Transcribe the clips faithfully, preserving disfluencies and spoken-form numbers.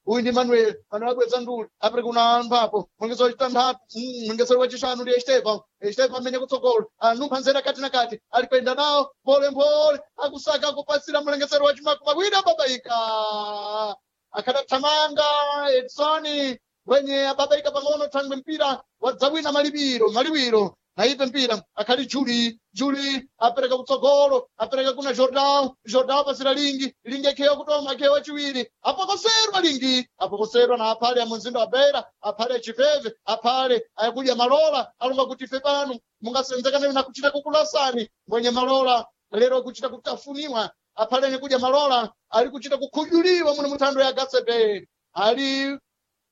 Uyu ndi Manuel. Manuel abweza nduli apere kuna mphapo mwengezo wachitanthatu, mwengezo wachishanu ndi Estevão. Estevão amene kutsogolo anumpha nzera kati na kati, ali kuyenda nawo mpolemphole, akusaka akupasira mlengesero wachimakumi awiri, ababaika akhadathamanga Edson wenye ababaika pang'ono thangwe mpira wadzawina malipiro maliwiro naipe mpira akhali Juli. Juli apereka kutsogolo, apereka kuna Jordão. Jordão apasira Lingi. Lingi akhewa kutoma, akhewa wachiwiri, apokoserwa Lingi, apokoserwa na aphale a mumzinda wa Beira, aphale achipeve, aphale akudya malola, alonga kuti ife pano mungasenzekane na kuchita kukulasani. Mwenye malola lero kuchita kutafuniwa, aphale kudya malola ali kuchita kukhudyuliwa muno muthando ya Gatsebe, ali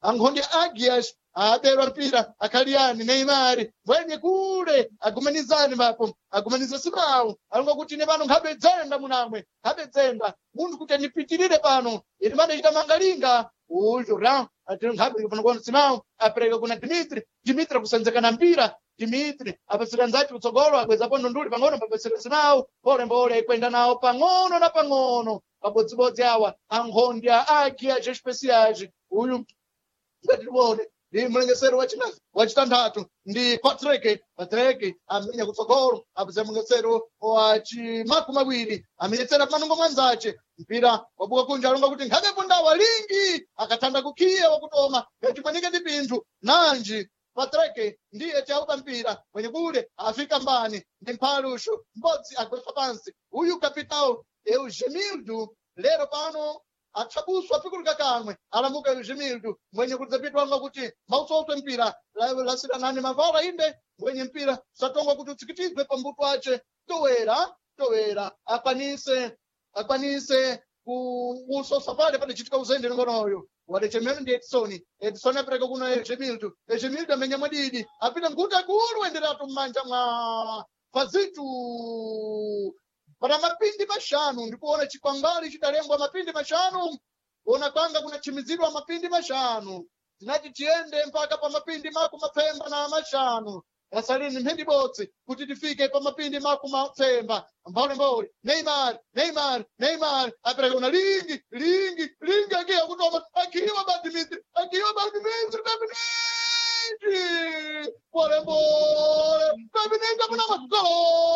ankhondi Agias aberwa mpira akhaliani Neymar mwenye kule agumanizani vapo agumaniza simawu, alonga kuti ine pano nkhabe dzenda munamwe, nkhabe dzenda munthu kuti anipitirire pano ine pano ichita mangalinga. Uyu Jordan ati nkhabe pano kuona simawu apereka kuna Dimitri. Dimitri akusenzekana mpira, Dimitri apasira nzati kutsogolo, abwezapo ndunduli pang'ono, papasira simawu mbole kwenda nawo pang'ono na pang'ono pabodzibodzi awa ankhondi a Agias Especiais. Uyu ngatione ndi mlengesero wachina wachitanthatu ndi Patrick. Patrick amenya kutsogolo, apeza mlengesero wachimakumi awiri, amenyetsera panongo mwanzace, mpira wabuka kunja, alonga kuti nkhabe pundawa Lingi akathanda kukhiya wakutoma ngachimwanike ndi pinthu nanji. Patrick ndiye chaupa mpira mwenye kule afika mbani ndi mphalushu mbodzi agwetsa pansi uyu kapitao Eugemildo lero pano athabuswa apikulika kamwe alamuka Eugemildo mwenye kudzapitwanga kuti mausoswe mpira lasiranani mavala inde mwenye mpira satongwa kuti utsikitizwe pambuto ace towera towera akwanise akwanise kuusosa pale padachitika uzende ngonoyo wadechemero ndi Edson. Edson apereka kuna Eugemildo. Eugemildo amenya mwadidi apita nkuti akulu enderatu m'manja mwa Fazitu pana mapindi mashanu, ndikuona chikwangwali chidalembwa mapindi mashanu, kuona kwanga kunachimizidwa mapindi mashanu, tinati tiyende mpaka pa mapindi maku mapemba na mashanu, yasalini mphindi bodzi kuti tifike pa mapindi maku mapemba. Mbolembole Neymar, Neymar, Neymar apereka kuna Lingi. Lingi, Lingi akiwa kutoma, akiwa ba Dimitri, akiwa ba Dimitri, ba Dimitri polembole.